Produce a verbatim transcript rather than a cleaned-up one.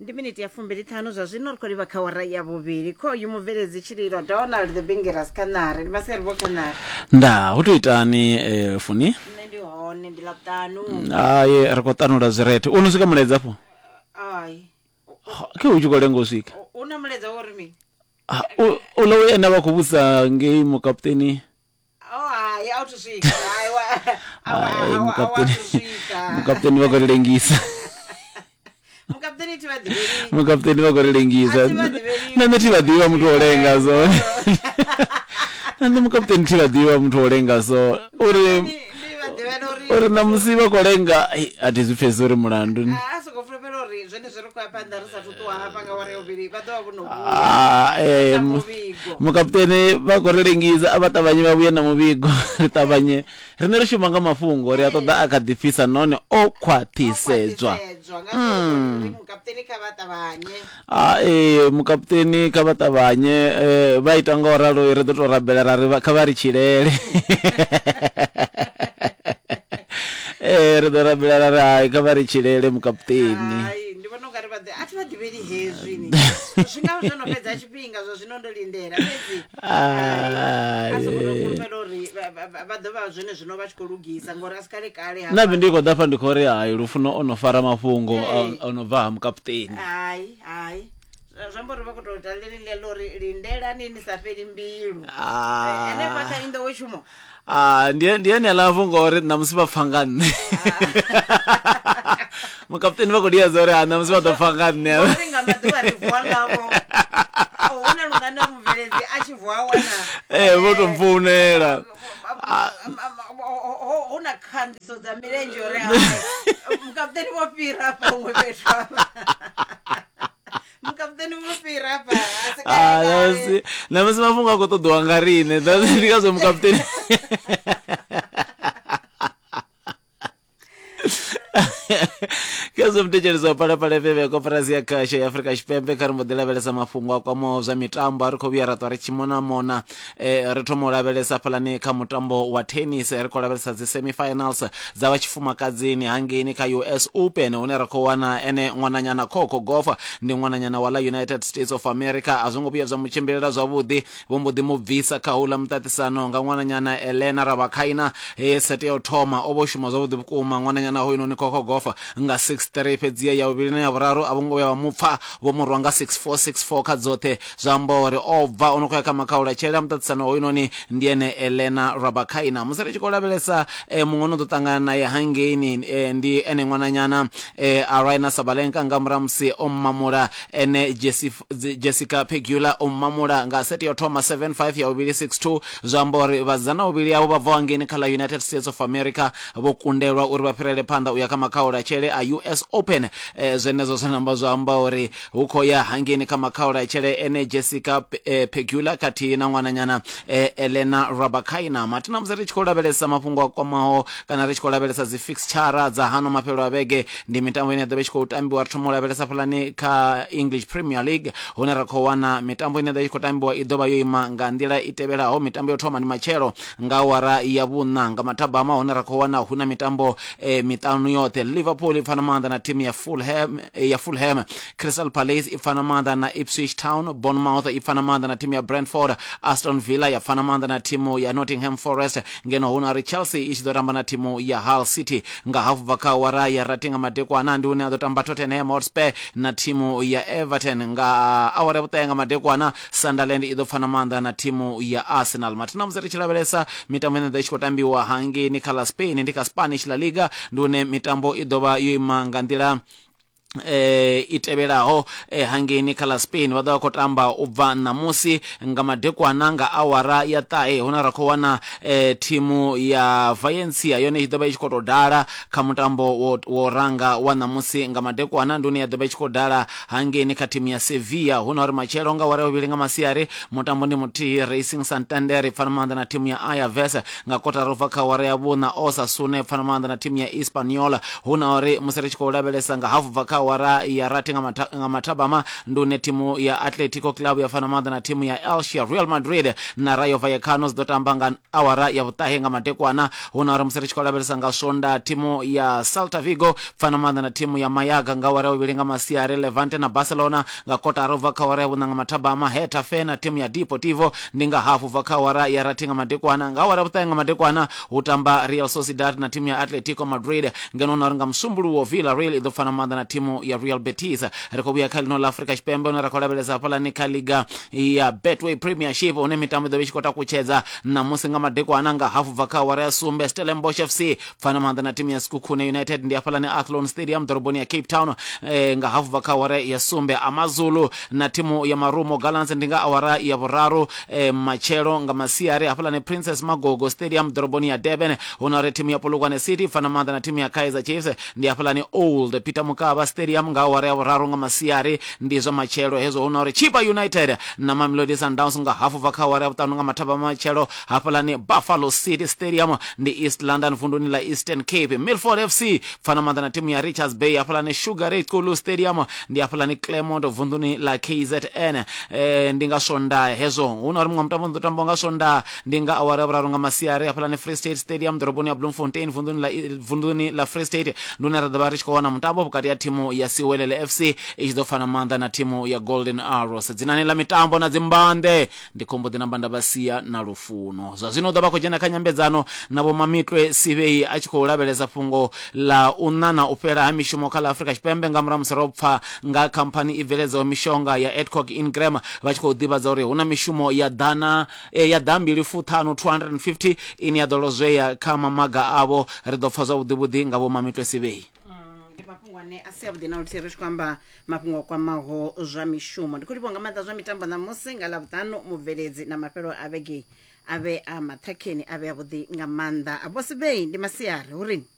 Ndi miniti ya fumbili ṱhanu zwa zwino ri khou livha kha wara ya vhuvhili. Khoyu mubveledzi tshililo Donald the Bingeras Khanari. Ndi masiari vho Khanari. Nda hu to itani eh, funi? Nṋe ndi hone ndi Ḽavhuṱanu. Hai, ri khou ṱanula zwirethe. U no swika mulaedza afho? Ai. Khe u tshi khou lenga u swika. U na mulaedza wo ri mini? Ah, u uḽa we ene vha khou vhusa ngei mukaputeni. Oh hai, a u thu swika. Hai wa a wa Hai, a wa a wa mukaputeni. thu swika. Mukaputeni vha khou ri lengisa. Mukaputeni thi vha ḓivheli. Mukaputeni vha khou ri lengisa. A thi vha ḓivheli. Na nṋe thi vha ḓivha muthu o lenga so. Na nṋe mukaputeni thi vha ḓivha muthu o lenga so. Uri Ndi ndi vha ḓivhela uri uri ṋamusi vha khou lenga, ai, a thi zwi pfhesesi uri mulandu. a soko fulufhela uri zwenezwi ri khou ya phanḓa ri sathu ṱuwa hafha nga wara ya vhuvhili vha ḓo vha vho no vhuya Ah, eh, na mu- muvhigo. mukaputeni vha khou ri lengisa, a vha ṱavhanye vha vhuye na muvhigo. Ri ṱavhanye, riṋe ri shuma nga mafhungo, ri a ṱoḓa a kha ḓi fhisa nahone o khwaṱhisedzwa. Khwaṱhisedzwa nga uri mukaputeni kha vha ṱavhanye. Ah, eh, mukaputeni kha vha ṱavhanye, eh, vha ita nga u ralo ri ḓo tou rabela ra ri vha- kha vha ri tshilele. Eh, ri ḓo rabela ra ri hai kha vha ri tshilele mukaputeni. Hai, ndi vhona ungari vha ḓi a thi vha ḓivheli hezwi ni. Zwi nga zwo no fhedza tshifhinga zwa zwino ndo lindela fhedzi. Ah, A soko tou eh. fulufhela uri vha- vha vha- vha ḓo vha zwone zwino vha tshi khou lugisa ngori a si kale kale hafha. Nṋe ndi khou ḓa fha ndi khou ri hai Lufuno o no fara mafhungo Ee. a- o no bva ha mukaputeni. Hai, hai. Zwa zwi amba uri vha khou tou ita ḽeneḽi ḽa uri lindelani ni sa fheli mbilu. Ah. Henefha kha inḓowetshumo. Ah, ndi ndi ene aḽa mafhungo uri ṋamusi vha pfa nga nṋe. Mukaputeni vha khou liedza uri ha ṋamusi vha ḓo pfa nga nṋe. Ngori nga maḓuvha ri vuwa ngavho. Hu na lungana mubveledzi a tshi vuwa wana. Eh, vho tou mpfounela. Hu na khandiso dza milenzhe uri hai mukaputeni vho fhira hafha huṅwe fhethu hafha. Mukaputeni vho fhira hafha. A si Ah, kale kale. ṋamusi ṋamusi mafhungo a khou ṱoḓiwa nga riṋe. That's ndi ngazwo mukaputeni. Khezwo muthetshelesi wa Phalaphala F M ya koporasi ya khasho ya Afrika Tshipembe, kha ri mbo ḓi lavhelesa mafhungo a kwamaho zwa mitambo. A ri khou vhuya ra ṱwa ri tshi mona mona. Eh, ri thoma u lavhelesa hafhaḽani kha mutambo wa tennis, ri khou lavhelesa dzi semi-finals dza vha tshifumakadzini hangeini kha U S Open, hune ra khou wana ene ṅwananyana Coco Gauff, ndi ṅwananyana wa ḽa United States of America. A zwo ngo vhuya zwa mu tshimbilela zwavhuḓi, vho mbo ḓi mu bvisa kha houḽa muṱaṱisano nga ṅwananyana Elena Rybakina. He sete ya u thoma o vho shuma zwavhuḓi vhukuma ṅwananyana hoyunoni Coco Gauff nga six three, fhedziha ya vhuvhili na ya vhuraru a vho ngo vhuya vha mu pfa, vho mu rwa nga six four, six four kha dzoṱhe. Zwa amba uri o bva o no khou ya kha makhaula tshele a muṱaṱisano hoyunoni ndi ene Elena Rybakina. Musi ri tshi khou lavhelesa eh, muṅwe no ḓo ṱangana naye hangeini eh, ndi ene ṅwananyana eh, Aryna Sabalenka, nga murahu musi o mamula ene Jessi, Jessica Pegula, o mamula nga sete ya u thoma seven five, ya vhuvhili six two. Zwa amba uri vhasidzana vhuvhili avho vha bvaho hangeini kha ḽa United States of America vho kundelwa uri vha fhirele phanḓa u ya kha makhaula tshele a U S Open. Eh, zwenezwo zwa namba zwa amba uri hu khou ya hangeini kha makhaula tshele ene Jessica eh, Pegula khathihi na ṅwananyana eh, Elena Rybakina. Mathina musi ri tshi khou lavhelesa mafhungo a kwamaho kana ri tshi khou lavhelesa dzi fixture dza hano mafhelo a vhege, ndi mitambo ine ya ḓo vha i tshi khou tambiwa. Ri thoma u lavhelesa hafhaḽani kha English Premier League, hune ra khou wana mitambo ine ya ḓo vha i tshi khou tambiwa i ḓo vha yo ima nga nḓila i tevhelaho. Mitambo yo thoma ndi matshelo nga awara ya vhuṋa nga mathabama, hune ra khou wana hu na mitambo eh, miṱanu yoṱhe. Liverpool i pfana maanḓa na thimu ya Fulham, ya Fulham. Crystal Palace i pfana maanḓa na Ipswich Town. Bournemouth i pfana maanḓa na thimu ya Brentford. Aston Villa ya pfana maanḓa na thimu ya Nottingham Forest, ngeno hu na uri Chelsea i tshi ḓo tamba na thimu ya Hull City nga hafu bva kha awara ya rathi nga madekwana, ndi hune a ḓo tamba Tottenham Hotspur na thimu ya Everton. Nga awara ya vhuṱahe nga madekwana, Sunderland i ḓo pfana maanḓa na thimu ya Arsenal. Mathina musi ri tshi lavhelesa mitambo ine ḓo i tshi khou tambiwa hangeini kha ḽa Spain, ndi kha Spanish La Liga, ndi hune mitambo i ḓo vha yo ima nga nḓila eh i tevhelaho. eh, hangeini kha ḽa Spain vha ḓo vha khou tamba u bva ṋamusi nga madekwana nga awara ya ṱahe, hune ra khou wana eh, thimu ya Valencia yone i ḓo vha i tshi khou tou dala kha mutambo wo, wo ranga wa ṋamusi nga madekwana, ndi hune ya ḓo vha i tshi khou dala hangeini kha thimu ya Sevilla. Hu na uri matshelo nga awara ya vhuvhili nga masiari mutambo ndi muthihi, Racing Santander i pfana maanḓa na thimu ya Alavés nga kotara ubva kha awara ya vhuṋa, Osasuna i pfana maanḓa na thimu ya Espanyol. Hu na uri musi ri tshi khou lavhelesa nga hafu bva kha awara ya rathi nga mathabama, ndi hune thimu ya Atletico Club ya fana maanḓa na thimu ya Elche, Real Madrid na Rayo Vallecano zwi ḓo tamba nga awara ya vhuṱahe nga madekwana. Hu na uri musi ri tshi khou lavhelesa nga Swonda, thimu ya Celta Vigo fana maanḓa na thimu ya Mayaga nga awara ya vhuvhili nga masiari, Levante na Barcelona nga kotara ubva kha awara ya vhuṋa nga mathabama, Getafe na thimu ya Deportivo ndi nga hafu ubva kha awara ya rathi nga madekwana. Nga awara ya vhuṱahe nga madekwana hu tamba Real Sociedad na thimu ya Atletico Madrid, ngeno na uri nga Musumbuluwo Villarreal i ḓo fana maanḓa na thimu ya Real Betis. Ri khou vhuya kha ḽino ḽa Afrika Tshipembe, hune ra khou lavhelesa hafhaḽani kha liga ya Betway Premiership, hune mitambo i ḓo vha i tshi khou takutshedza ṋamusi nga madekwana nga hafu bva kha awara ya sumbe. Stellenbosch F C fana maanḓa na thimu ya Sekhukhune United ndi hafhaḽani Athlone Stadium ḓoroboni ya Cape Town eh, nga hafu bva kha awara ya sumbe. Amazulu na thimu ya Marumo Gallants ndi nga awara ya vhuraru eh, matshelo nga masiari hafhaḽani Princess Magogo Stadium ḓoroboni ya Durban. Hu na uri thimu ya Polokwane City fana maanḓa na thimu ya Kaizer Chiefs ndi hafhaḽani Old Peter Mokaba Stadium nga awara ya vhuraru nga masiari, ndi zwa matshelo hezwo. Hu na uri Chippa United na Mamelodi Sundowns nga hafu bva kha awara ya vhuṱanu nga mathabama matshelo hafhaḽani Buffalo City Stadium ndi East London vunduni ḽa Eastern Cape. Milford F C fana maanḓa na thimu ya Richards Bay hafhaḽani Sugar Ray Xulu Stadium ndi hafhaḽani Claremont vunduni ḽa K Z N. Eh, ndi nga Swonda hezwo. Hu na uri muṅwe mutambo ḓo tambiwa nga Swonda ndi nga awara ya vhuraru nga masiari hafhaḽani Free State Stadium ḓoroboni ya Bloemfontein vunduni ḽa vunduni ḽa Free State, ndi hune ra ḓo vha ri tshi khou wana mutambo vhukati ha thimu ya Siwelele F C i tshi ḓo fana maanḓa na thimu ya Golden Arrows. Dzinani ḽa mitambo na dzimbande ndi khombo ḓi namba nda vha sia na lufuno. Zwa zwino u ḓo vha khou dzhena kha nyambedzano na Vho Mamitwe Sivhei a tshi khou lavhelesa fhungo ḽa u ṋana u fhela ha mishumo kha ḽa Afrika Tshipembe nga murahu musi ro pfa nga khamphani i bveledzaho mishonga ya Adcock Ingram vha tshi khou ḓivhadza uri hu na mishumo ya ḓana ya ḓambili fuṱhanu two hundred and fifty ine ya ḓo lozwea kha mamaga avho. Ri ḓo pfa zwavhuḓi vhuḓi nga Vho Mamitwe Sivhei. Ndi mafhungo ane a si avhuḓi na luthihi ri tshi khou amba mafhungo a kwamaho zwa mishumo. Ndi khou livhuwa nga maanḓa zwa mitambo ṋamusi nga Ḽavhuṱanu, mubveledzi na mafhelo a vhege a vhe a maṱhakheni a vhe avhuḓi nga maanḓa. Vho Sivhei, ndi masiari hurini.